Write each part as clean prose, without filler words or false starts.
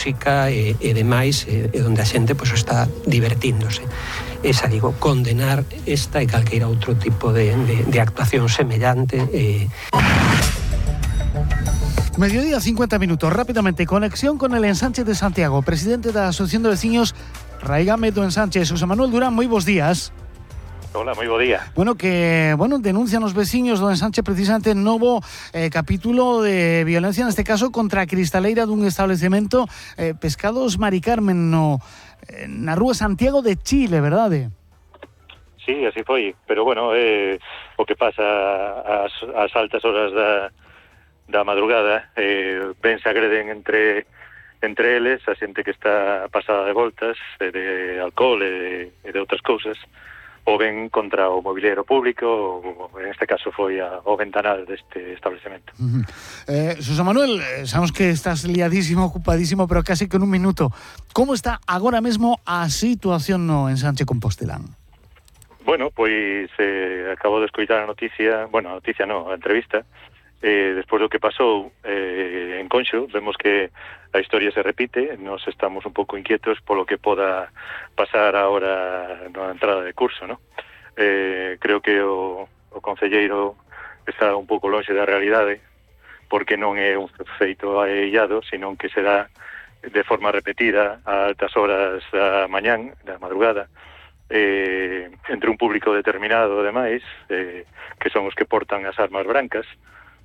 música e demais, onde a xente pois está divertíndose. Esa, digo, condenar esta e calqueira outro tipo de actuación semellante. Mediodía, 50 minutos. Rápidamente, conexión con el ensanche de Santiago. Presidente da Asociación de Veciños Raigame do Ensanche, Xosé Manuel Durán, moi bons días. Hola, moi bo día. Denuncian os veciños do ensanche precisamente novo capítulo de violencia, neste caso contra a cristaleira dun establecemento Pescados Mari Carmen na rúa Santiago de Chile, verdade? Sí, así foi, pero bueno, o que pasa ás altas horas da madrugada, ben se agreden entre eles, a xente que está pasada de voltas, de alcohol e de outras cousas, ou ben contra o mobiliario público, ou en este caso foi o ventanal deste establecemento. Xosé Manuel, sabemos que estás liadísimo, ocupadísimo, pero casi que en un minuto. Como está agora mesmo a situación no ensanche Compostelán? Bueno, pois acabo de escoitar a noticia, a entrevista, despois do que pasou en Conxo, vemos que a historia se repite, nos estamos un pouco inquietos polo que poda pasar agora na entrada de curso, ¿no? Creo que o concelleiro está un pouco lonxe da realidade, porque non é un feito aillado, sino que será de forma repetida a altas horas da mañán, da madrugada, entre un público determinado, ademais, que son os que portan as armas brancas,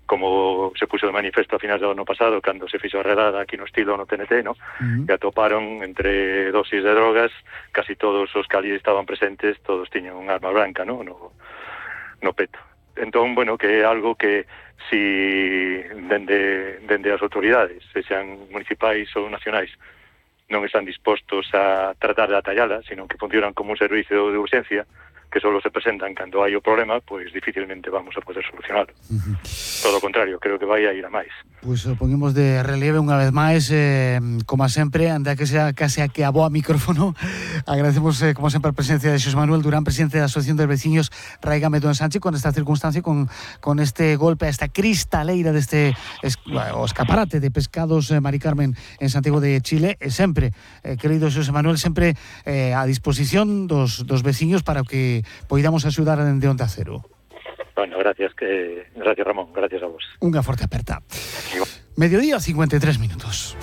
como se puxo de manifesto a finais do ano pasado, cando se fixo a redada aquí no estilo no TNT, ¿no? Que atoparon entre dosis de drogas, casi todos os que ali estaban presentes, todos tiñan un arma branca, ¿no? No peto. Entón, bueno, que é algo que si dende as autoridades, sexan municipais ou nacionais, non están dispostos a tratar de atallala, sino que funcionan como un servicio de urgencia, que solo se presentan cando hai o problema, pois dificilmente vamos a poder solucionarlo. Todo o contrario, creo que vai a ir a máis. Pois ponemos de relieve unha vez máis, como sempre, anda que sea case a que aboa micrófono. Agradecemos, como sempre, a presencia de Xosé Manuel Durán, presidente da Asociación de Veciños Raigame do Ensanche, con esta circunstancia, con este golpe a esta cristaleira deste o escaparate de Pescados Mari Carmen en Santiago de Chile, e sempre, querido Xosé Manuel, sempre a disposición dos veciños para que poidamos axudar dende Onda Cero. Bueno, gracias Ramón, gracias a vos. Unha forte aperta. Mediodía, 53 minutos.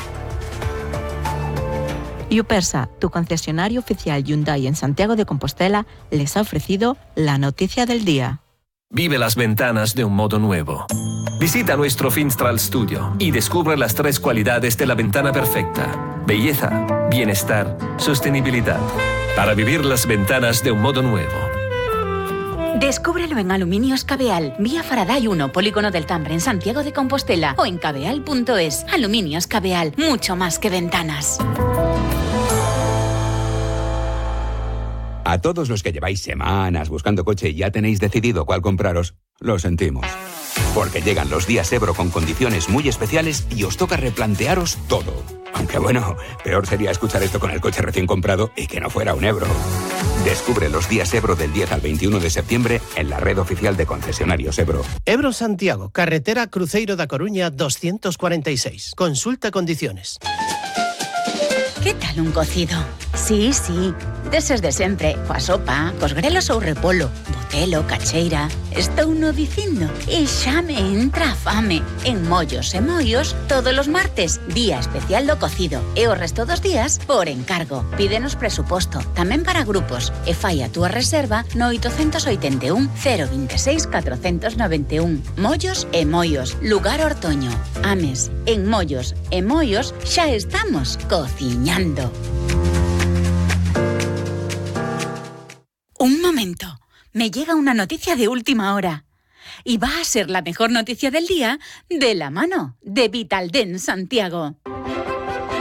Yupersa, tu concesionario oficial Hyundai en Santiago de Compostela, les ha ofrecido la noticia del día. Vive las ventanas de un modo nuevo. Visita nuestro Finstral Studio y descubre las 3 cualidades de la ventana perfecta: belleza, bienestar, sostenibilidad. Para vivir las ventanas de un modo nuevo. Descúbrelo en Aluminios Cabeal, vía Faraday 1, Polígono del Tambre, en Santiago de Compostela, o en cabeal.es. Aluminios Cabeal, mucho más que ventanas. A todos los que lleváis semanas buscando coche y ya tenéis decidido cuál compraros, lo sentimos. Porque llegan los días Ebro con condiciones muy especiales y os toca replantearos todo. Aunque bueno, peor sería escuchar esto con el coche recién comprado y que no fuera un Ebro. Descubre los días Ebro del 10 al 21 de septiembre en la red oficial de concesionarios Ebro. Ebro Santiago, carretera Cruzeiro da Coruña 246. Consulta condiciones. ¿Qué tal un cocido? Sí, deses de sempre, coa sopa, cos grelos ou repolo, botelo, cacheira. Estou no dicindo e xa me entra a fame. En Mollos e Moios, todos os martes, día especial do cocido. E o resto dos días, por encargo. Pídenos presuposto, tamén para grupos. E fai a túa reserva no 881 026 491. Mollos e Moios, lugar Ortoño. Ames, en Mollos e Moios xa estamos cociñando. Un momento, me llega una noticia de última hora. Y va a ser la mejor noticia del día de la mano de Vitaldent Santiago.